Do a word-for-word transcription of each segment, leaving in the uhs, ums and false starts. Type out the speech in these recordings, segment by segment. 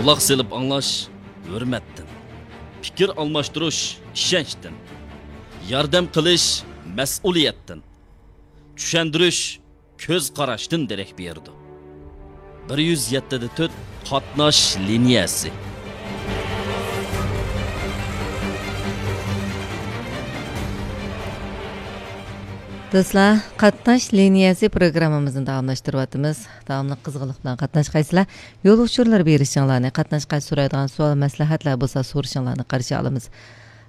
قۇلاق سېلىپ ئاڭلاش ھۆرمەتتىن، پىكىر ئالماشتۇرۇش ئىشەنچتىن، ياردەم قىلىش مەسئۇلىيەتتىن، چۈشەندۈرۈش كۆز قاراشتىن دېرەك بېرىدۇ. بىر يۈز يەتتە دە تۆت قاتناش لىنىيەسى. دوستلار، قاتناش لىنىيەسى پروگراممىمىزنى داۋاملاشتۇرۇۋاتىمىز. داۋاملىق قىزغىنلىق بىلەن قاتناشقايسىلەر. يول ئۇچۇرلىرى بېرىشىڭلارنى، قاتناشقا سورايدىغان سوئال، مەسلىھەتلەر بولسا سورىشىڭلارنى قارشى ئالىمىز.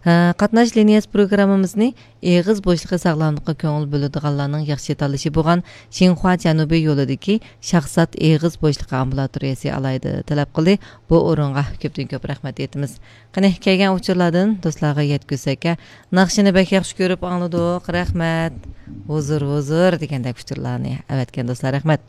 ھە، قاتناش لىنىيەسى پروگراممىمىزنى ئېغىز بوشلۇقى ساغلاملىققا كۆڭۈل بۆلىدىغانلارنىڭ ياخشى تاللىشى بولغان شىنخۇا جەنۇبىي يولىدىكى شاھزات ئېغىز بوشلۇقى ئامبۇلاتورىيەسى ئالاھىدە تەلەپ قىلدى. بۇ ئورۇنغا كۆپتىن كۆپ رەھمەت ئېيتىمىز. قېنى، كەلگەن ئۇچۇرلاردىن دوستلارغا يەتكۈزسەك، ناخشىنى بەك ياخشى كۆرۈپ ئاڭلىدۇق، رەھمەت. ھۇزۇر، ھۇزۇر دېگەندەك ئۇچۇرلارنى ئەۋەتكەن دوستلار، رەھمەت.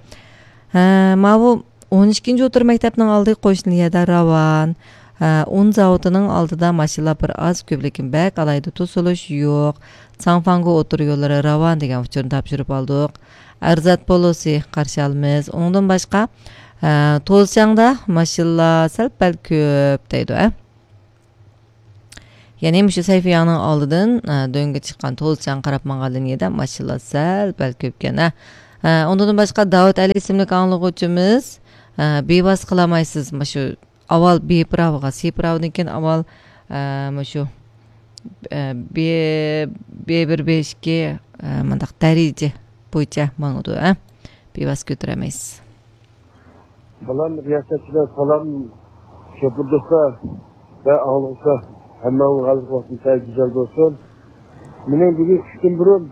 ھە، ماۋۇ ئون ئىككىنچى ئوتتۇرا مەكتەپنىڭ ئالدى قوشنا يەردە راۋان. ھە، ئۇن زاۋۇتىنىڭ ئالدىدا ماشىنىلار بىر ئاز كۆپ، لېكىن بەك ئالاھىدە توسۇلۇش يوق. ساڭفاڭگو ئوتتۇرا يوللىرى راۋان دېگەن ئۇچۇرنى تاپشۇرۇپ ئالدۇق. ئەرزات پولۇسى قارشى ئالىمىز. ئۇنىڭدىن باشقا، ھە، توزچاڭدا ماشىنىلار سەل پەل كۆپ دەيدۇ، ھە. يەنى مۇشۇ سەيفىياڭنىڭ ئالدىدىن، ئە، دۆڭگە چىققان توزچاڭ قاراپ ماڭغان لىنىيەدە ماشىنىلار سەل پەل كۆپكەن، ھە. ئە، ئۇندىن باشقا داۋۇت ئەلى ئىسىملىك ئاڭلىغۇچىمىز، ئە، بىۋاسىتە قىلالمايسىز، مۇشۇ ئاۋۋال بې پىراۋىغا، سې پىراۋىدىن كېيىن ئاۋۋال، ئە، مۇشۇ، ئە، بې، بې بىر، بې ئىككى، ئە، مۇنداق دەرىجە بويىچە ماڭىدۇ، ھە. بىۋاسىتە كۆتۈرەلمەيسىز. سالام رىياسەتچىلەر، سالام شوپۇر دوستلار ۋە ئاڭلىغۇچىلار. ھەممىڭلارنىڭ غەلىبە ۋاقتى سەل گۈزەل بولسۇن. مېنىڭ بۈگۈن چۈشتىن بۇرۇن،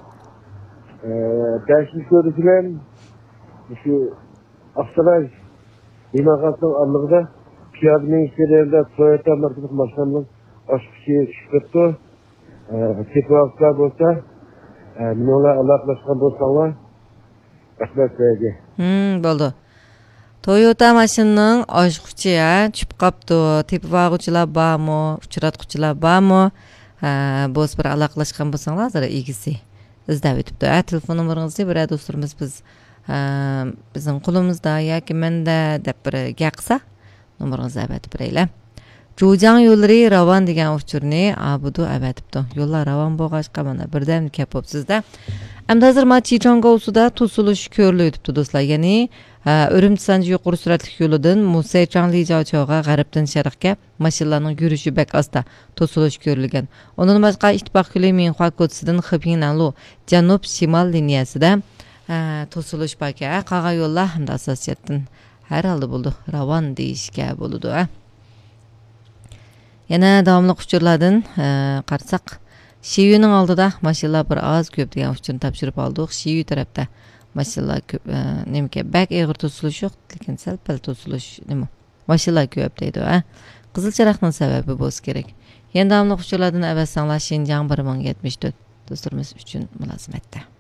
ئە، بەشىنچى كۆرۈنۈش بىلەن مۇشۇ ئاقساراي ئىمارەتنىڭ ئارىلىقىدا پىيادە مېڭىش جەريانىدا تويوتا ماركىلىق ماشىنامنىڭ ئاچقۇچى چۈشۈپ كەپتۇ. ئە، تېپىۋالغۇچىلار بولسا، ئە، مېنىڭ بىلەن ئالاقىلەشكەن بولساڭلار، رەھمەت سىلەرگە. ھىم، بولدى. تويوتا ماشىنىنىڭ ئاچقۇچى، ھە، چۈشۈپ قاپتۇ. تېپىۋالغۇچىلار بارمۇ؟ ئۇچراتقۇچىلار بارمۇ؟ ھە، بولسا بىر ئالاقىلەشكەن بولساڭلار، ھازىر ئىگىسى ئىزدەۋېتىپتۇ. ھە، تېلېفون نومۇرىڭىزنى بىرەر دوستلىرىمىز بىز، ھە، بىزنىڭ قولىمىزدا ياكى مەندە دەپ بىر گەپ قىلسا، نومۇرىڭىزنى ئەۋەتىپ بېرەيلى. جۇجاڭ يوللىرى راۋان دېگەن ئۇچۇرنى ئابىدۇ ئەۋەتىپتۇ. يوللار راۋان بولغاچقا، مانا، بىردەمدە كەپ بوپسىز-دە. ئەمدى ھازىر ما چىچاڭگاۋسۇدا توسۇلۇش كۆرۈلۈۋېتىپتۇ، دوستلار. يەنى، ھە، ئۈرۈمچى سانجى يۇقىرى سۈرئەتلىك يولىدىن مۇسەيچاڭ لىجاۋچاۋغا غەربتىن شەرققە ماشىنىلارنىڭ يۈرۈشى بەك ئاستا، توسۇلۇش كۆرۈلگەن. ئۇنىڭدىن باشقا، ئىتتىپاق كۆلى مىڭخۇا كوچىسىدىن خېپىڭنەنلۇ جەنۇب شىمال لىنىيەسىدە، ھە، توسۇلۇش باركەن. ھە، قالغان يوللار ھەمدە ئاساسىي جەھەتتىن ھەر ھالدا بولىدۇ، راۋان دېيىشكە بولىدۇ، ھە. يەنە داۋاملىق ئۇچۇرلاردىن، ئە، قارىساق، شىيۈنىڭ ئالدىدا ماشىنىلار بىر ئاز كۆپ دېگەن ئۇچۇرنى تاپشۇرۇپ ئالدۇق. شىيۈ تەرەپتە ماشىنىلار كۆپ، ئە، نېمىكەن، بەك ئېغىر توسۇلۇش يوق، لېكىن سەل پەل توسۇلۇش نېمە؟ ماشىنىلار كۆپ دەيدۇ، ھە. قىزىل چىراغنىڭ سەۋەبى بولسا كېرەك. يەنە داۋاملىق ئۇچۇرلاردىن ئەۋەتسەڭلار، شىنجاڭ بىر مىڭ يەتمىش تۆت دوستلىرىمىز ئۈچۈن مۇلازىمەتتە.